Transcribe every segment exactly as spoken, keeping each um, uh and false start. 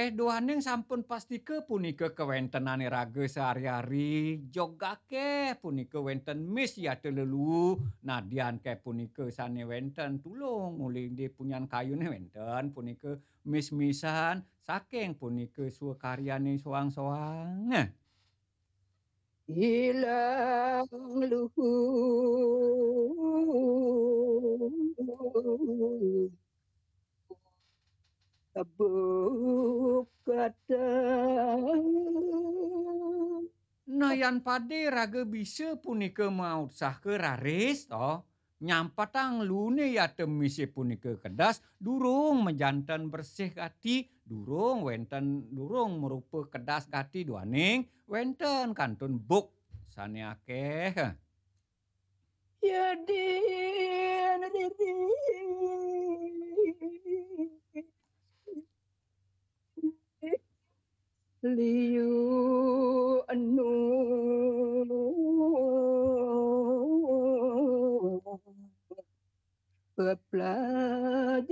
Duaning sampun pastika punika kawentenane raga sehari-hari, jog akeh punika wenten mis yata lelu, nadyan keh punika sane wenten tulung uli di punyan kayune wenten punika mis-misan saking punika swakaryane soang-soang. Ilang luhur tebuk kata. Nah, yan pade raga bisa punika mautsaha raris, to. Nyampatang lune yata mise punika kedas, durung majanten bersih gati, durung wenten, durung marupa kedas gati duaning wenten kantun buk sane akeh. Yadin riri liu anu pepelajahan.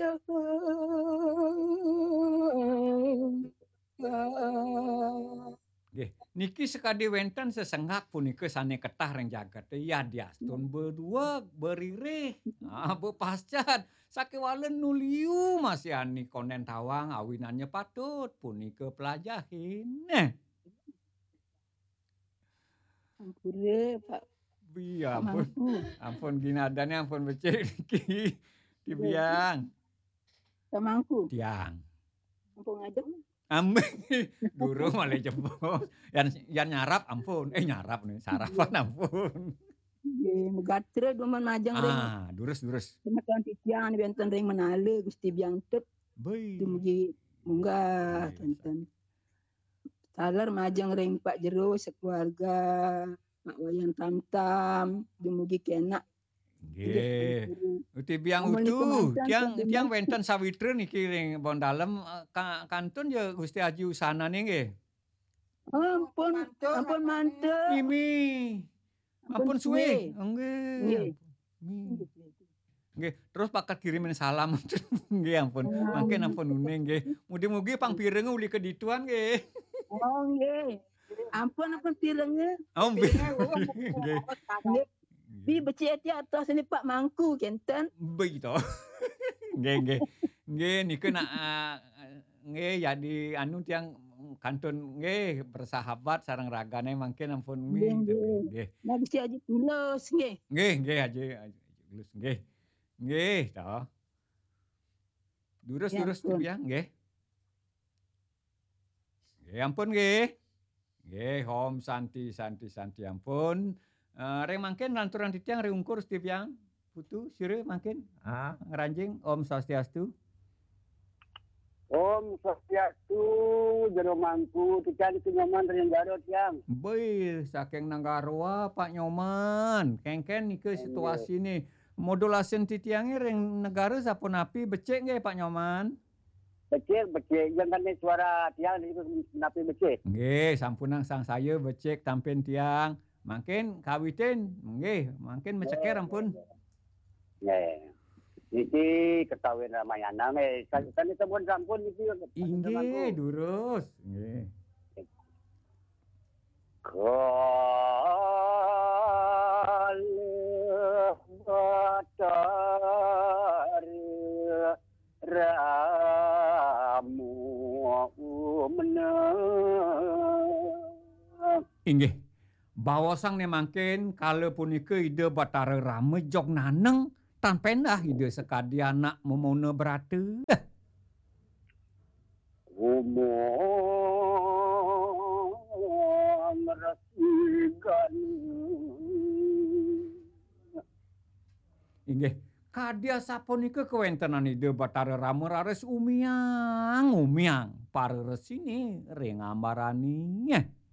Nggih, niki sakadi wenten sesenggak punika sane ketah ring jagate, yadiastun bedueg, beririh, ah, bepascat, sakewala nu liu masihani konden tawang awinannya patut punika pelajahin. Neh. Ampure, Pak. Iya, Pak ampun. Mangku. Ampun, ginadane ampun becik niki. Iya. Tiang. Pak Mangku. Tiang. Ampun ngajeng. Am-, durung malih jebos. Yan, yan nyarap ampun. Eh, nyarap nih, sarapan ampun. Nggih, megatra dumun majeng ring. Ah, durus, durus. Semeton titiang wenten ring Menala, Gusti Biang Tep. Boi. Dumugi munggah, iya, kenten. Taler majeng ring Pak Jero sekeluarga, Pak Wayan Tamtam, dumugi kenak. Nggih. Nggih, Pak Jero. Uti Biang amun utu, niki manten tiang, tiang wenten sawitra niki ring Bondalem, eh, ka-, kantun ya Gusti Aji Usanane nggih. Ampun, ampun manten. Mimi. Ampun suwe. Nggih. Nggih. Nggih. Nggih, terus pakat kirimin salam. Nggih, ampun. Mangkin ampun uning nggih. Mugi-mugi pang pirenge uli kedituan nggih. Oh, nggih. Ampun, ampun pirenge. Oh, nggih. Pirenge, oh, nggih. Nggih. Bi becik ati atos ni Pak Mangku kenten. Begitu. Nggih, nggih. Nggih, nika nak, ah, nggih, jadi anu tiang kantun nggih bersahabat sareng ragane mangkin ampun mi. Nggih, nggih. Nggih. Nah, Gusti Aji Tulus nggih. Nggih, nggih, Aji, Aji Tulus nggih. Nggih, toh. Durus, ya, durus ampun. Tiang nggih. Nggih, ampun nggih. Nggih, Om Santi, Santi, Santi, ampun. Eh, ring mangkin lanturang titiang ring ungkur Gusti Biang. Putu, sira mangkin. Ah, ngranjing, Om Swastiastu. Om Swastiastu, Jero Mangku, titiang niki Nyoman ring Garut, tiang. Boi, saking Nanggaroa, Pak Nyoman. Kengken nika, nggih, situasine. Modulasin titiange ring negara sapunapi, becik nggih, Pak Nyoman? Becik, becik. Jengkane suara tiang niku napi becik? Nggih, sampunang sangsaya becik tampin tiang. Mangkin kawitin, nggih, mangkin meceker ampun. Nggih. Niki ketawin Ramayana nggih. Sa-, sane sampun, sampun niki. Inggih, durus. Nggih. Kalih Batara Rama umeneng. Inggih. Baosang ne mangkin, kala punika Ida Batara Rama jog naneng, tan pendah Ida sakadi anak memona brata. Umang Resi Gani. Inggih, kadi asapunika kawentenan Ida Batara Rama raris umiang, umiang para resine ring ambarane.